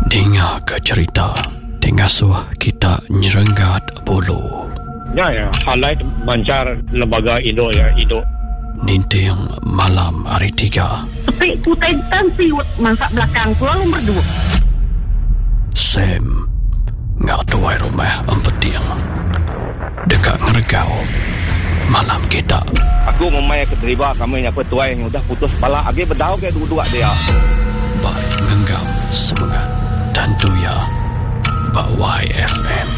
Dinga ke cherita ti ngasuh kita nyerenggat bulu. Nya ya highlight manchar lembaga indu ya indu. Ninting malam hari tiga. Sepi ku utai tan siut mansa belakang ku lalu merdu. Sam enggau tuai rumah Empeting deka ngeregau malam kita. Aku ngumbai ke deriba kami nya tuai udah putus pala agi bedau ke duduk dia. Ba ngenggam semengat tentu iya ba YFM.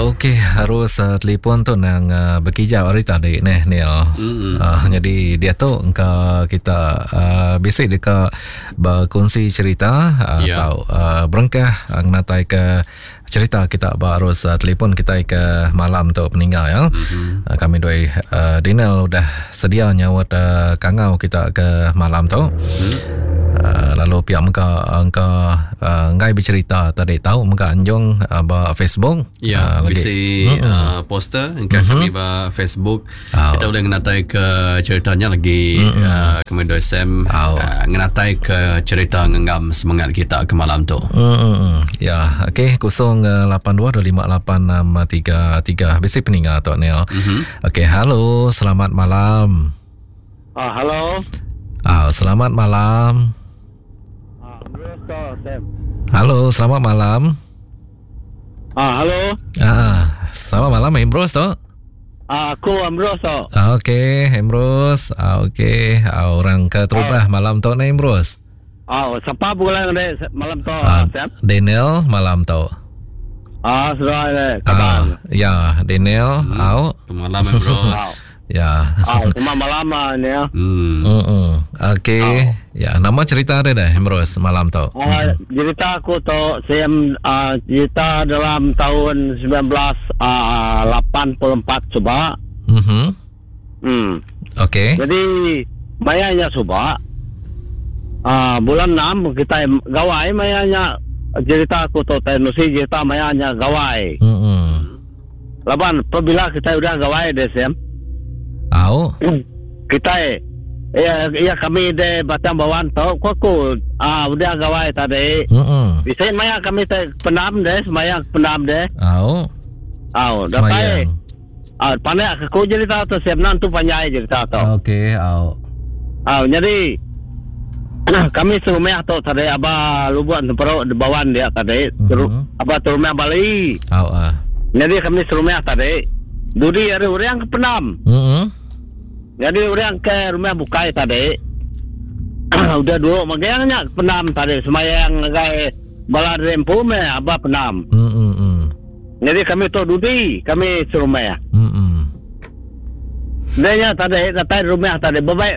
Okey, harus uh, telefon tu nang uh, bekijau hari tadi neh Neil. Mm-hmm. Uh, jadi dia tu engka kita uh, bisi deka berkongsi cerita uh, yeah. atau uh, berengkah uh, ngenatai ke cerita kita ba arus uh, telefon kita ke malam tu peninggal ya. Mm-hmm. Uh, kami dua uh, Daniel udah sedia nyaut uh, kangau kita ke malam tu. Mm-hmm. Uh, lalu pihak mega engka uh, enggai bercerita tadi tahu mega anjung uh, ba Facebook. Ya, uh, bisi mm-hmm. uh, poster engka mm-hmm. kami ba Facebook. Oh. Kita boleh ngenatai ke ceritanya lagi mm-hmm. uh, kami dua Sam oh. uh, ngenatai ke cerita ngenggam semangat kita ke malam tu. Mm-hmm. Ya, okey 08258633 bisi peninga tu Neil. Mm-hmm. Okey, halo, selamat malam. Ah, halo. Ah, selamat malam. Ah, Sam. Halo, selamat malam. Ah, halo. Ah, selamat malam Ambrose tu. Ah, aku Ambrose tu. Ah, okey, Ambrose. Ah, okey. Ah, orang ke terubah ah. malam tu ni Ambrose. Ah, siapa bulan ni malam tu, ah, Sam? Daniel malam tu. Ah, sudah ni. Ah, ya, Daniel, hmm. Au. Malam Ambrose. Ya. Ah, cuma malam ah ni ya. Hmm. Hmm. Okey. Oh. Ya, nama cerita ada dah Ambrose malam tu. Ah, hmm. cerita aku tu saya uh, cerita dalam tahun 1984 uh, cuba. Mhm. Hmm. Okey. Jadi mayanya suba uh, bulan 6 kita gawai mayanya cerita aku tu teknologi cerita mayanya gawai. Hmm. Laban pabila kitai udah gawai deh Sam. Au. Kitai iya iya kami de Batang Bawan tu ku aku ah udah gawai tadi. Mm. Bisi maya kami te pendam deh semaya pendam deh. Au. Au datai. Au pandak aku cerita tu Sam nan tu panjai cerita tu. Okey au. Au jadi kami serumah tu tadi aba lubuk temperuk di bawan dia tadi mm-hmm. aba terumah Bali. Au ah. Jadi kami serumah tadi dudi hari orang ke pendam. Mm-hmm. Jadi orang ke rumah bukai tadi udah dulu magangnya pendam tadi semayang ngagai bala rempu me aba pendam. Mm-hmm. Jadi kami tu dudi kami serumah. Mm-hmm. Dia nya tadi datai rumah tadi bebai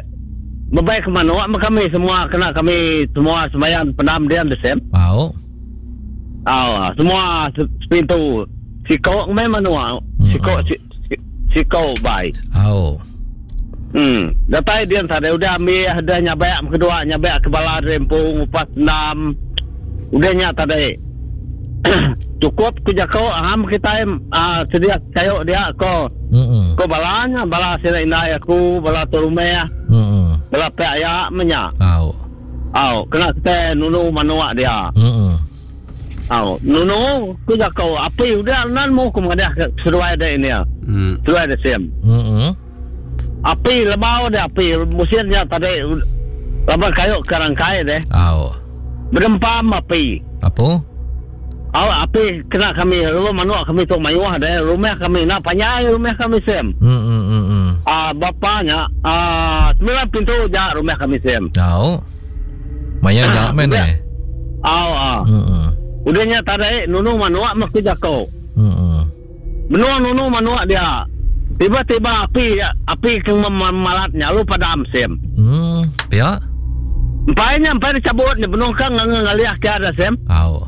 bebai ke manuk meh kami semua kena kami semua sembahyang pendam dian desem. Au. Au semua sepintu siko meh manuk siko mm-hmm. siko bai. Au. Hmm, datai dian tadi udah ambil udah nyabak kedua nyabak ke bala rempu ngupas endam. Udah nya tadi. Cukup ku jaku aham kitai uh, sedia kayu dia ko. Mm-mm. Ko bala nya bala sida indai aku, bala tu rumah. Mm-mm. Bala pek aya menya. Au. Au, kena kitai nunu manuk dia. Mm-mm. Au, nunu ku jaku api udah nan mu ku madah ke seduai dia ini. Mm. Seduai dia sim. Mm-mm. Api lebau dia api musim nya tadi laban kayu ke rangkai deh. Au. Bedempam api. Apo? Au api kena kami lalu manuk kami tu mayuh deh rumah kami nak panjai rumah kami sim. Hmm hmm hmm. hmm. Ah bapa nya ah sembilan pintu ja rumah kami sim. Au. Maya ja men eh. Au ah. Hmm. hmm. Udah nya tadi nunu manuk meh ku jako. Hmm. hmm. Benung nunu manuk dia. Tiba-tiba api api ke memalat nya lalu padam sim. Hmm, pia. Empai nya empai dicabut nya benung ka ngalih ke ada sim. Au.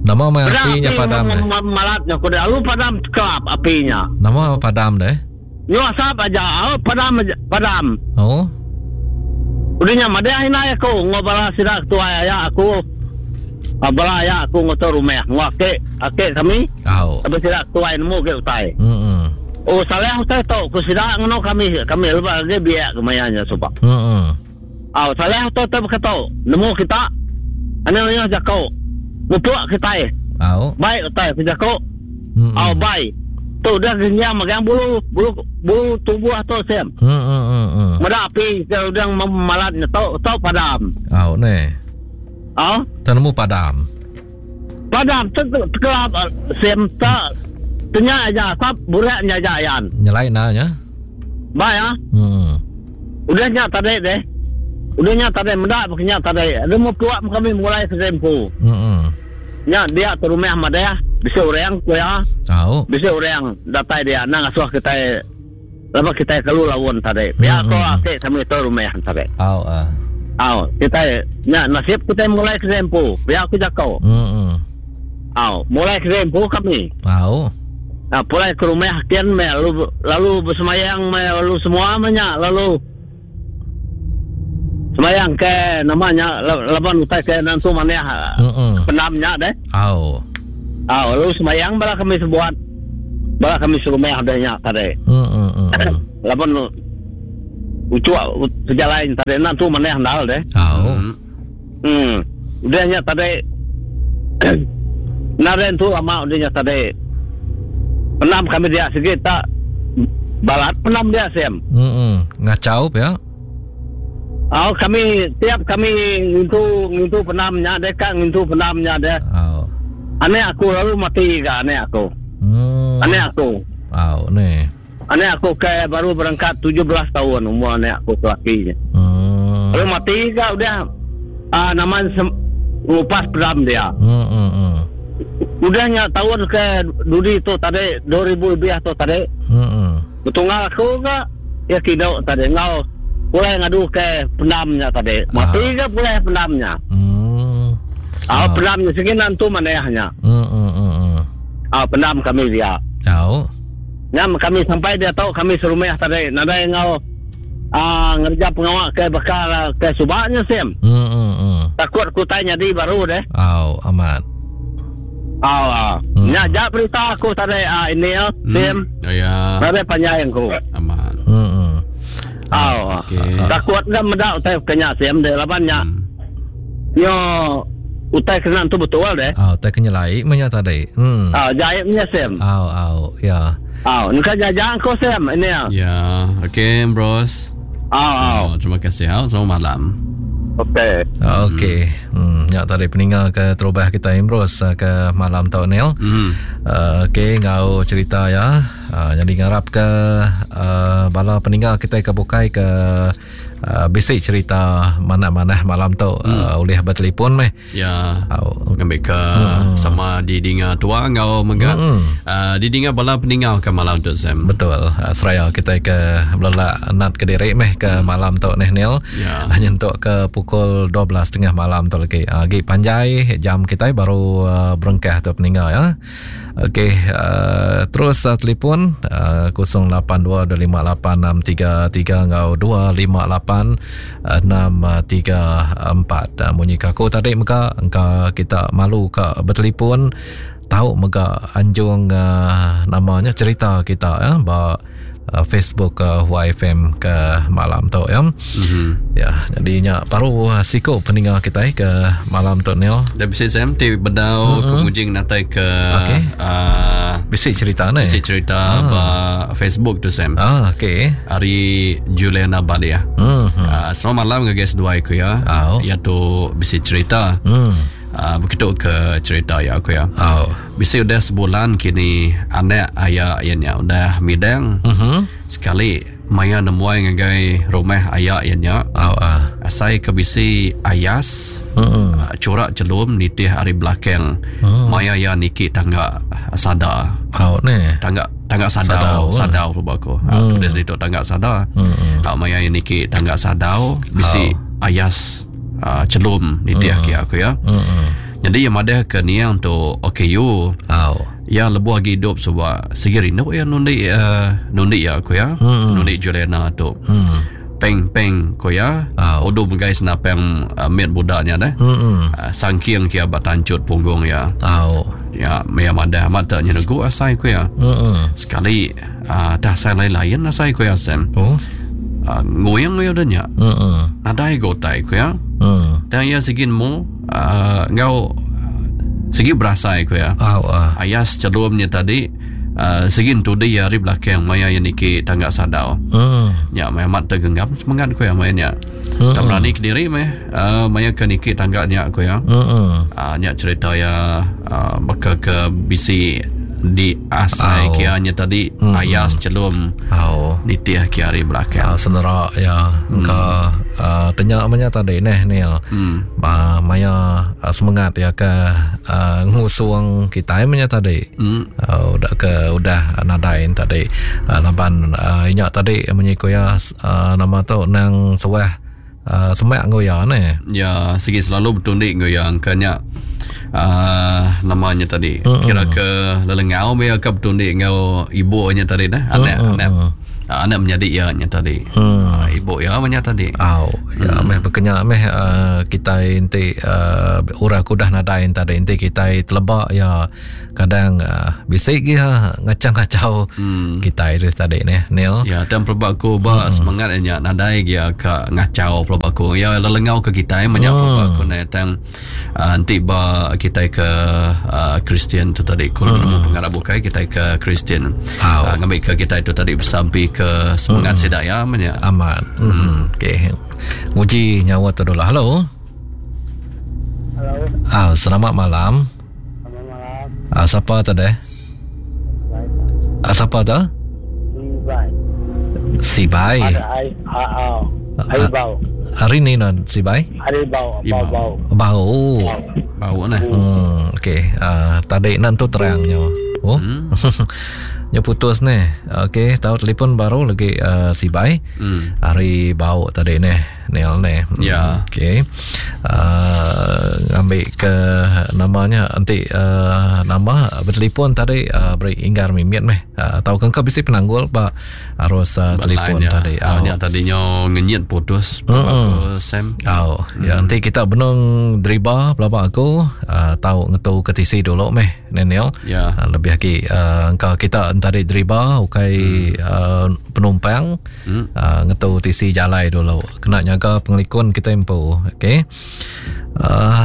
Nama mai api nya padam deh. Malat nya ku lalu padam kelap api nya. Nama padam deh. Nyu asap aja, au padam aja, padam. Oh. Udah nya madah indai aku enggau bala sida ketuai aya aku. Ah, bala aya aku ngutu rumah enggau aki, aki kami. Au. Laban sida ketuai nemu agi utai. Hmm. Oh salah utai tu ku sida ngeno kami kami lebih agi biak ke maya nya suba. Hmm. Au salah utai tu baka tu nemu kita anang mayuh jako mupuk kitai. Au. Bai utai ku jako. Hmm. Au bai. Tu udah genjang megang bulu bulu bulu tubuh tu Sam. Hmm hmm hmm. hmm. Meda api ke udah memalat nya tu tu padam. Au ne. Au. Temu padam. Padam tu tekelap sim ta tenya aja sap burak nya aja yan. Nyelai na nya. Ba ya. Hmm. Udah nya tadi deh. Udah nya tadi meda nya tadi. Ada mu puak kami mulai sesempu. Hmm. Nya dia ke rumah madah bisi orang ku ya. Au. Bisi orang datai dia nang asuh kita Lama kita kelu laun tadi. Pia ko ake kami tu rumah tadi. Au ah. Au, kita nya nasib kita mulai ke empu. Pia aku jako. Hmm. Au, mulai ke empu kami. Au. Nah, pulai ke rumah kian me lalu lalu bersemayang me lalu semua menya lalu semayang ke namanya laban utai ke nantu manah mm penamnya deh. Au. Au, lalu semayang bala kami sebuat Bala kami serumah dah nya tadi. Hmm. Laban ucuk pejalai tadi nak tu manah ndal deh. Au. Hmm. Udah nya tadi Naren tu lama udah nya tadi. Penam kami dia sikit tak balat penam dia sem. Hmm. Ngacau ya. Au kami tiap kami ngintu ngintu penam nya deh ka ngintu penam nya deh. Au. Anak aku lalu mati ga anak aku. Hmm. Anak aku. Au ni. Anak aku ke baru berangkat 17 tahun umur anak aku lelaki nya. Hmm. Lalu mati ga udah uh, nama ngupas pedam dia. Hmm, hmm, hmm. Udah nya tahun ke dudi tu tadi 2000 lebih tu tadi. Hmm. hmm. Betunggal aku ga ya kidok tadi enggau pulai ngadu ke pendam nya tadi. Mati ga pulai pendam nya. Hmm. Ah, pendam nya sigi nantu manah nya. Hmm, hmm, hmm, hmm. Ah, pendam kami dia. Tau. Nya kami sampai dia tau kami serumah tadi nadai enggau ah ngerja pengawa ke bakal ke suba nya sim. Hmm, hmm, hmm. Takut ku tai nyadi baru deh. Au, amat. Au, au. Hmm. Nya ja berita aku tadi ah ini ya, hmm. Sim. Ya. Nadai panjai aku. Amat. Hmm. hmm. Au. Okay. Takut ga meda utai kenya sim deh laban nya. Hmm. Yo utai kena tu betul deh. Au, utai kena nyelai menya tadi. Hmm. Au, jai menya sim. Au, au, ya. Au, nka jajang ko sim ini ya. Ya, okey bros. Au, au. Oh, terima kasih. Au, selamat malam. Okey. Okey. Hmm. Ya tadi peninga ke terubah kita Imros eh, ke malam tu Neil. Hmm. Uh, Okey ngau cerita ya. Uh, jadi ngarap ke uh, bala peninga kita ke bukai ke uh, bisi cerita manah-manah malam tu hmm. uh, ulih bertelefon meh. Ya. Au. Ngambil ke hmm. sama didinga tua ngau mega hmm. uh, didinga bala peninga ke malam tu Sam. Betul. Uh, seraya kita ke belelak nat ke diri meh ke hmm. malam tu neh Neil. Ya. Nyentuk ke pukul 12.30 malam tu lagi. Uh, lagi panjai jam kita baru uh, berengkah tu peninga ya. Okey, uh, terus uh, telefon uh, 08225863 enggau 258634. Uh, munyi ke aku tadi mega engka kita malu ka bertelefon tau mega anjung uh, namanya cerita kita ya ba uh, Facebook uh, YFM ke malam tu ya. Mm-hmm. Ya, jadi nya baru uh, siku peninga kita ke malam tu Neil. Dah bisi Sam ti bedau mm-hmm. kemujing natai ke Okey. uh, Bisi cerita ni. bisi cerita ah. ba Facebook tu Sam. Ah, okey. Ari Juliana Balia. Hmm. Uh, selamat malam ngagai seduai ku ya. Au. Ya tu bisi cerita. Hmm. Uh, begitu ke cerita ya aku ya. Au. Bisi udah sebulan kini anak ayah iya nya udah midang. Mhm. Sekali maya nemuai ngagai rumah ayah iya nya. Au ah. Asai ke bisi ayas Hmm. uh, corak celum nitih ari belakang. Maya iya niki tangga sada. Au ni. Tangga tangga Sadau, sadau eh. sadau rupa aku. Hmm. tulis ditu tangga sada. Hmm. Tak maya iya niki tangga sadau bisi ayas uh, celum nitih hmm. aku ya. Hmm. Jadi yang madah ke niang tu OKU Au. Ya lebuh agi hidup sebab segi rindu ya nundi uh, nundi ya aku ya. Hmm. Nundi Juliana tu. Hmm. Peng peng ko ya. Au. Odo megai senapang uh, mit budaknya deh. Hmm. Uh, sangking kia bat tancut punggung ya. Au. Ya maya madah amat tak nyenegu asai ko ya. Hmm. Sekali uh, tah asai lain-lain asai ku ya Sam. Oh. Nguing iya udah nya. Mm. Nadai ga utai ku iya. Mm. Tang iya sigi nemu uh, enggau sigi berasai ku iya. Au ah. Ayas chelum nya tadi uh, sigi entudi iya ari belakang maya iya niki tangga sadau. Mm. Nya meh amat tergenggam semengat ku iya maya nya. Mm. Tak berani kediri meh uh, maya ke niki tangga nya ku iya. Mm. Uh, nya cerita iya uh, baka ke bisi di asai Au. kia nya tadi ayas chelum Au. nitih ke ari belakang. Senera ya engka tenya menya tadi neh Neil. Ba maya semengat ya ke ngusung kitai menya tadi. Udah ke udah nadai tadi laban inya tadi munyi ku iya nama tu nang suah semak enggau iya neh. Ya sigi selalu betundi enggau iya engka nya nama nya tadi kira ke lelengau meh iya ke betundi enggau ibu nya tadi neh anak anak anak menyadi iya nya tadi. Ibu iya meh nya tadi. Au ya meh bekenya meh kitai enti orang ke udah nadai tadi enti kitai teleba iya Kadang bisi gi ha ngachau-ngachau kitai tu tadi neh Neil. Ya tang pelaba aku ba semangat iya nya nadai gi ka ngachau pelaba aku. Iya lelengau ke kitai menya pelaba aku neh tang enti ba kitai ke Kristian tu tadi ku nemu pengarap bukai kitai ke Kristian. Ngambi ke kitai tu tadi besampi ke semangat sida iya menya. Amat. Okey. Nguji nyawa tu dulu. Hello. Hello. Ah, selamat malam. Selamat malam. Ah, siapa tu deh? Ah, siapa tu? Sibai. Sibai. Ada ai a a. Ai bau. Hari ni non Sibai? Hari bau, bau bau. Bau. Bau nah. Okey. Tadi nan tu terangnya. Oh. Nya putus ni. Okey, tahu telefon baru lagi Sibai. Hari bau tadi ni. Neil ni. Ya. Okey. Ngambil ke namanya enti nama bertelefon tadi beri inggar mimit meh. Tau ke engka bisi penanggul ba arus telefon tadi. Oh, nya tadi nyo ngenyit putus mm-hmm. Sam. Oh, ya enti kita benung deriba pelaba aku tau ngetu ke tisi dulu meh. Daniel. Ya. Lebih agi engka kita entadi deriba ukai penumpang ngetu tisi jalai dulu kena nyaga pengelikun kita empu. Okey.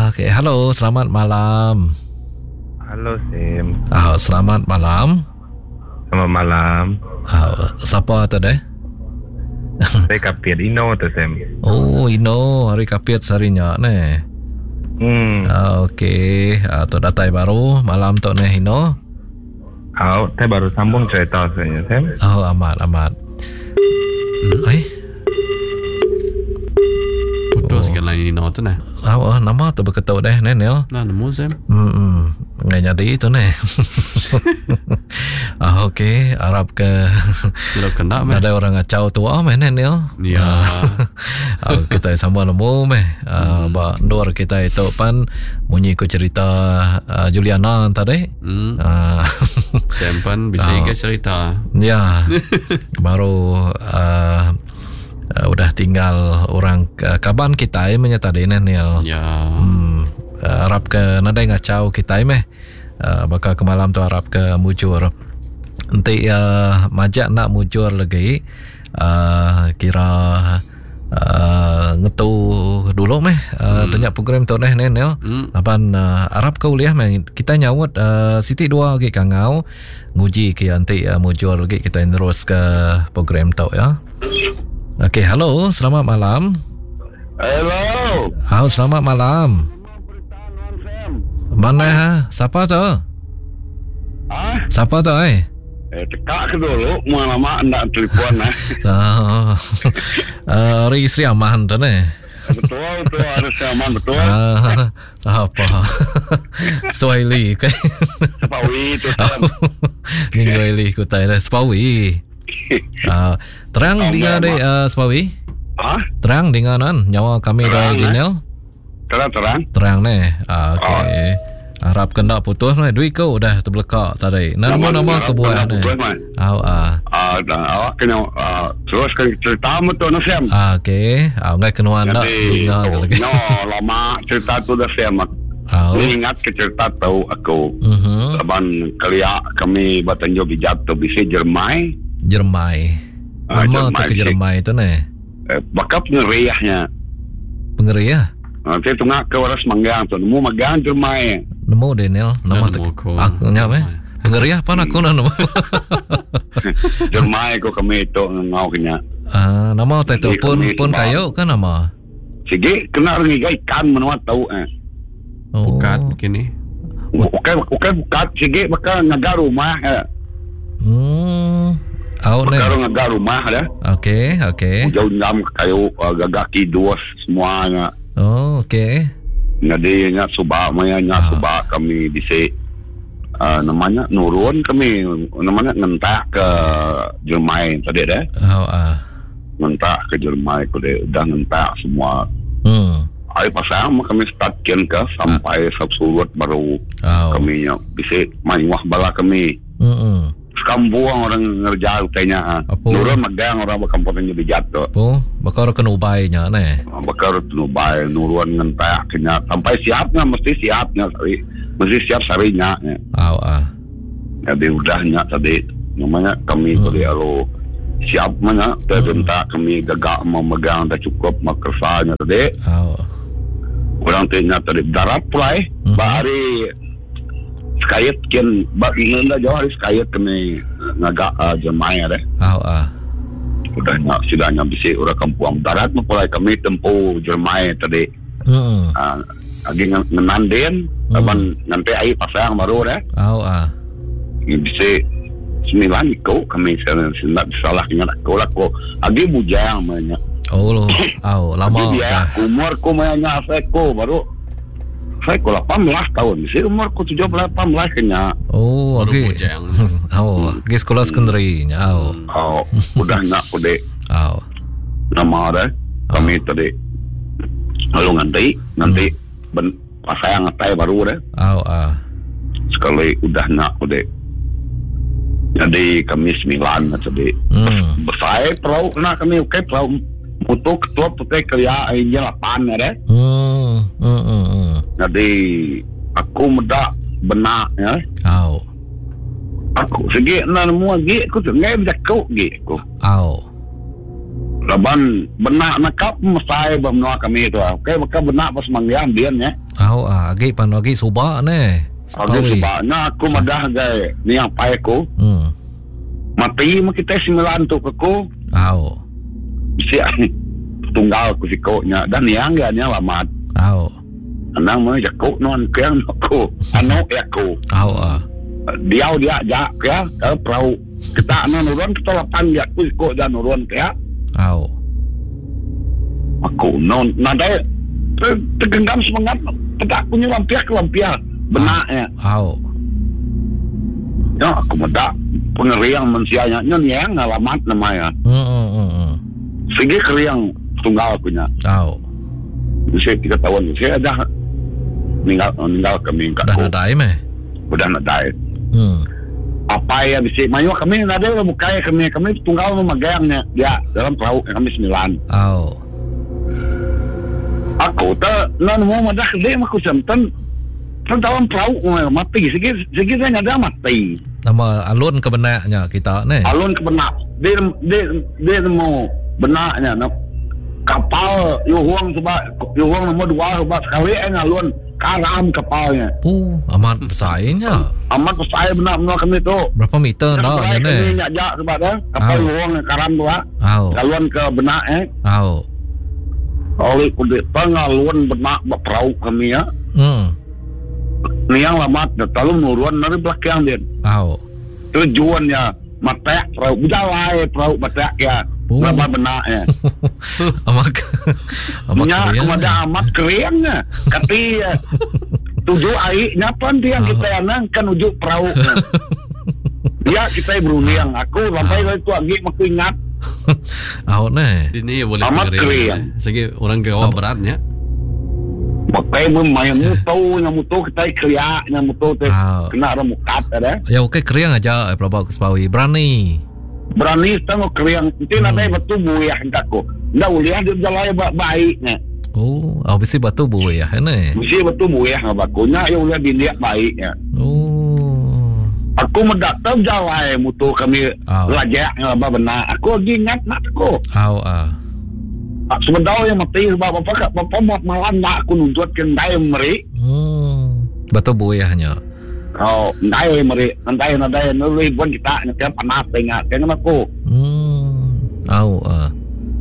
Okey, hello, selamat malam. Hello Sim. Selamat malam. Selamat malam. Siapa tu deh? Saya Kapit Ino tu Sam. Oh, Ino hari Kapit sehari nya neh. Okey, tu datai baru malam tu neh Ino. Au, saya baru sambung cerita sebenarnya Sam. Oh, amat amat. Ai. Putus oh. kan line Ino tu neh. Oh, nama tu beketuk deh neh Neil. Nah, nemu Sam. Ngai nyadi tu neh. Okey, arap ke Tidak kena meh. Ada orang ngacau tua meh neh Neil. Ya. Kita sama nemu meh. Ba endur kita itu pan munyi ku cerita Juliana tadi. Sam pan bisi ke cerita. Ya. Baru udah tinggal orang kaban kita meh tadi neh Neil. Ya. Arap ke nadai ngachau kitai meh. Baka ke malam tu arap ke mujur. Enti iya majak enda mujur lagi kira ngetu dulu meh tanya program tu neh Neil. Laban arap ke ulih meh kitai nyaut siti dua agi kangau nguji ke iya enti mujur lagi kitai nerus ke program tu ya. Okey, hello, selamat malam. Hello. Halo, selamat malam. Mana ha? Siapa tu? Ha? Siapa tu eh? Eh, tekak ke dulu, mau lama ndak telefon eh. Oh. Hari Sri Aman tu ni. Betul, betul, hari Sri Aman betul. Apa? Swahili ke? Sepawi tu. Ni Swahili ku tai lah Sepawi. Terang dengar dek Sepawi? Ha? Terang dengar nan nyawa kami dah Daniel. Terang terang. Terang ne. Okey. Harap kena putus ne duit kau udah terbelekak tadi. Nama nama ke buah ne. Au ah. Ah, awak kena terus ke cerita mu tu Sam. Ah, okey. Ah, ngai kenuan dak dengar lagi. No, lama cerita tu dah Sam. Au. Ingat ke cerita tu aku. Laban kelia kami ba Tanjung Bijat tu bisi Jermai. Jeremai. Ah, Nama tu Jeremai ke bisi. Jeremai tu neh? Eh, baka pengeriahnya. Pengeriah? Ah, saya tungak ke orang Semanggang tu nemu magang Jeremai. Nemu Daniel, nama tu. Aku nya meh. Pengeriah pan aku nak nemu. Jeremai ko kami tu ngau kenya. Ah, nama tai tu Jadi pun kami pun sebab- kayu kan nama? Sigi kena orang ngiga ikan menua tau eh. Oh. Pukat kini. Bukan bukan bukat sigi baka ngaga rumah eh. Hmm. Au Baka ne. orang ngaga rumah dah. Okey, okey. Jauh jam kayu uh, gagak kidus semuanya. Oh, okey. Jadi nya subak maya nya subak kami bisi uh, namanya nurun kami namanya ngentak ke Jermai tadi dah. Oh, ah. Ngentak ke Jermai ko deh udah ngentak semua. Hmm. Ai pasang mah kami start kian ke sampai sab surut baru Oh. kami nya bisi mayuh bala kami. Hmm. Sekampung orang ngerja utainya. ah. Nurun megang orang berkampung nya bijat tu. Po, bakal kena ubai nya ne. Bakar nubai nurun ngentak kenya sampai siapnya mesti siapnya sari mesti siap sarinya. Ya. Au ah. Jadi udahnya tadi namanya kami tadi alo siap mana terbentak kami gagak memegang dah cukup makersanya tadi. Au. Orang tanya tadi darat pulai bahari sekayat kian bak nenda jauh hari sekayat kami ngagak uh, jemai ada. Au ah. Udah nak sidanya bisi orang kampung darat mempulai kami tempuh Jermai tadi. Hmm. Ah, lagi ngenandin laban nanti ai pasang baru dah. Au ah. Bisi sembilan iko kami salah salah ingat aku lah ko agi bujang banyak. Oh lo. Au, lama. Agi dia umur ku banyak saya ko baru saya ko 18 tahun. Bisi umur ku 17 18 kenya. Oh, agi. Au, agi sekolah sekondari nya. Au. Oh, udah nak ku dek. Au. Nama dah kami tadi lalu nanti nanti ben pasang atai baru dah. Au ah. Sekali udah nak ku dek. Jadi kami sembilan tadi. Hmm. Besar perahu kena kami okey perahu mutu ketua putih kelia airnya lapan ada. Hmm. Hmm. hmm, hmm. Jadi aku medak benak ya. Au. Aku segi nak nemu lagi aku tu ngai berjakuk gi aku. Au. Laban benak nakap mesai ba menua kami tu. Okey maka benak pas manggang dia ya. Au ah, agi pan agi suba ne. Aku sebab na aku madah gai ni yang pai aku. Hmm. Mati mah kita sembilan tu ke aku. Au. Si tunggal aku sikoknya dan yang ya nya lamat. Au. Anang mah jakuk non keang aku. Anu ya aku. Au ah. Diau dia jak ya ke perahu. Kita anu nurun kita lapan ya aku sikok dan nurun ya. Au. Aku non nadai tergenggam semangat pedak punya lampiah ke lampiah benaknya. Au. Ya aku medak pengeriang manusianya nyon yang ngalamat namanya. Hmm. hmm, hmm, hmm. Segi keriang tunggal punya. Au. Usia tiga tahun saya dah meninggal meninggal kami Dah nadai meh. Udah nadai. Hmm. Apa ya bisa mayu kami nadai bukai kami kami tunggal memegangnya ya dalam perahu kami sembilan. Au. Aku tak nan mau madah dia aku santan Kan dalam perahu mati segi segi saya ada mati. Nama alun ke benaknya kita ne. Alun ke benak. Dia dia dia mau benaknya no. Kapal yuhuang sebab yuhuang nombor dua sebab sekali eh alun karam kapalnya. Oh, amat besarnya. Amat besar benak menua kami tu. Berapa meter dah nya ne? Kami nyak jak sebab dah kapal Au. yuhuang karam tu ah. Au. Alun ke benak eh. Au. Oleh kudu pengalun benak perahu kami ya. Hmm. Niang lamat dah lalu nurun dari belakang dia. Au. Tujuannya matek perahu berjalai perahu matek ya. Oh. Berapa benaknya. Amat amat Nya keriang. kepada amat keriangnya. Kati ya, tujuh airnya pun dia kita anang kan ujuk perahu. Dia kita berunding. Aku sampai itu lagi aku ingat Au ne. Ini boleh Amat pengeriang. keriang. Segi orang gawa beratnya. Pakai main mutu, yang mutu kita keriak, yang mutu teh kena orang mukat ada. Ya okey keriang aja eh, pelabak ke Sepawi. Berani. Berani setengah keriang. Nanti nanti betul buyah aku. Ndak boleh dia jalan baiknya. Oh, oh bisi batu buih ya ne. Mesti betul buyah ngabakunya ya boleh dindiak baiknya. Oh. Aku meda tau jalai mutu kami oh. lajak ngelaba benar. Aku lagi ingat nak aku. Oh, ah. Sebedau yang mati sebab apa kak bapa buat malam nak aku nuntut ke ndai meri. Hmm. Betul buayahnya. Oh, ndai meri, ndai nadai nuli buan kita nya panas ingat kan aku. Hmm. Au ah.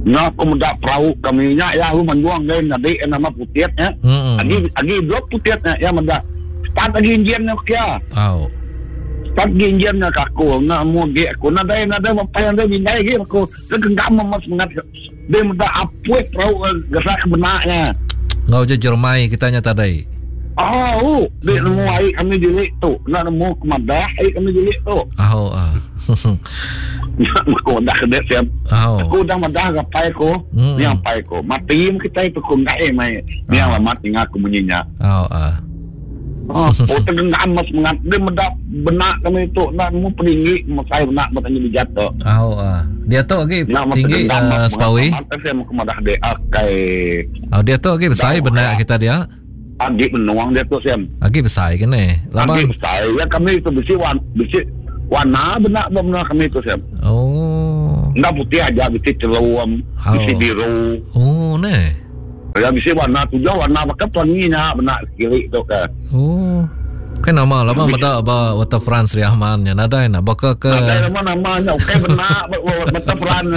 Nya aku meda perahu kami nya ya lu manjuang dai nadi nama putih nya. Hmm. Agi agi dua putih nya ya meda. Start agi enjin nya kia. Au. Start agi enjin nya ka aku na mu agi aku nadai nadai mapai nadai bindai agi aku. Dia genggam amat semangat. Dia meda apuih perahu gerak ke benak nya. Ngau je jermai kita nya tadi. Oh, dia nemu ai kami bilik tu. Nak nemu ke madah ai kami bilik tu. Oh, ah. Aku udah kena siap. Oh. Aku udah madah gapai aku. Ni apai aku. Mati kita itu ku ngai mai. Ni oh. alamat ingat aku munyinya. Oh, ah. Oh, oh tergenggam mas mengat dia meda benak kami itu nak nemu peninggi masai benak bertanya di jatuh. Oh, ah. Dia tu lagi tinggi uh, sepawi. Saya mau kemadah dia akai. Oh, dia tu lagi besar benak kita dia. Agi menuang dia tu Sam. Agi besar ke ni? Lama. Agi besar. Ya kami itu besi wan besi warna benak benar kami itu Sam. Oh. Enggak putih aja besi celum, oh. besi biru. Oh, ni. Ya bisi warna tujuh warna baka pelangi nya benak kiri tu ke. Oh. Kan nama lama meda ba Waterfront Sri Aman nya nadai nak baka ke. Nadai nama nama nya okey benak Waterfront.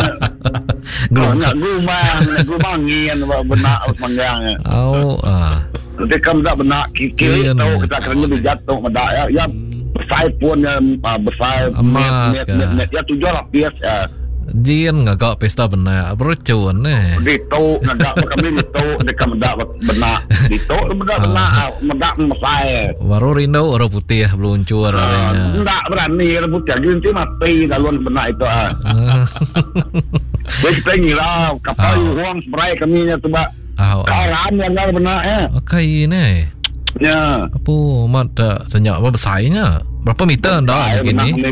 Gelumang gelumang gelumang ngin ba benak manggang nya. Oh ah. Nanti kam meda benak kiri tu kita kena bijat tu meda ya ya besai pun ya besai met met met ya tujuh lapis ya. Jin ngaga pesta benak beracun eh. Ditu ngaga ba kami ditu deka meda benak. Ditu meda benak ah. meda mesai. Baru rindu orang putih beluncur uh, hari nya. Enda berani orang putih agi enti mati dalun benak itu ah. Jadi kita ngira kapal uh. uang seberai kami nya tu ba. Uh, Karan yang benak eh. Okey ni. Ya. Apa mat tak tanya apa besarnya? Berapa meter anda lagi ni?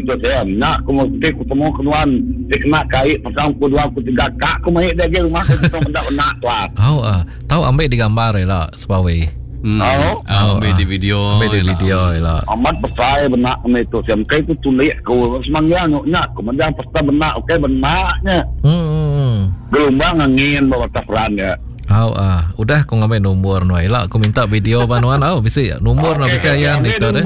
Nak aku mesti aku temu keluan dia kena kait pasang ku dua ku tiga kak aku mai dia ke rumah aku temu mendak nak tu. Oh ah, tahu ambil di gambar lah sebawi. Hmm. Oh, oh, ambil di video. Ambil di video lah. Amat besar benak kami itu. Siam kai ku tulik ku semangnya nak ku menjang pesta benak okey benaknya. Hmm. Gelombang angin bawa tafran ya. Au ah, udah aku ngambil nombor nuan. Ila aku minta video ba nuan au bisi nombor nuan bisi ayan ditu deh.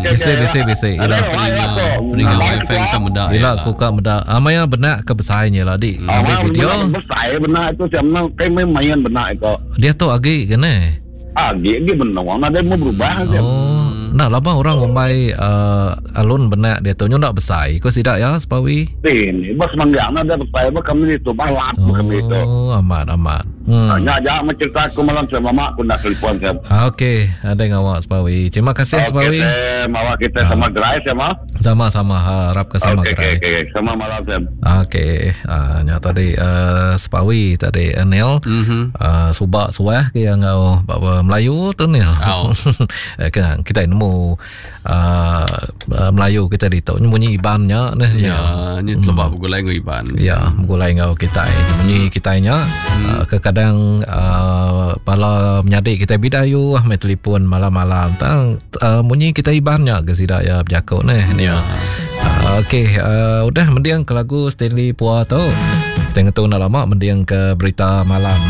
Bisi bisi bisi. Ila peninga wifi kita meda. Ila aku ka meda. Ah maya benak ke besai nya lah di. Ambil video. Besai benak itu siam no kai main benak itu. Dia tu agi ke ne? Agi agi benong nadai mau berubah. Oh, nah lama orang ngumbai uh, alun benak dia tu nyu ndak besai ko sida ya sepawi. Ini bas manggang ada besai ba kami itu balap oh, kami itu. Oh, amat amat. Hmm. Nya aja ma cerita aku malam saya mama aku nak telefon saya. Ah, okey, ada ngawak sepawi. Terima kasih okay, sepawi. Mawa kita sama ah. gerai sama. Sama-sama harap ke sama okay, gerai. Okey, okey, sama malam saya. Okey, uh, nya tadi uh, sepawi tadi Anil mm-hmm. uh, subak suah ke yang ngau bapa Melayu tu ni. Oh. Kan kita nemu uh, Melayu kita ditu munyi Iban nya neh. Ya, ni telebak hmm. begulai ngau Iban. Ya, begulai ngau kita. Munyi kita nya hmm. uh, kekadang uh, bala menyadi kita bidayu ah mai telefon malam-malam tang uh, munyi kita Iban nya ke sida ya bejaku neh. Ya. Uh, okey, uh, udah mending ke lagu Stanley Pua tu. Kita ngetu enda lama mending ke berita malam.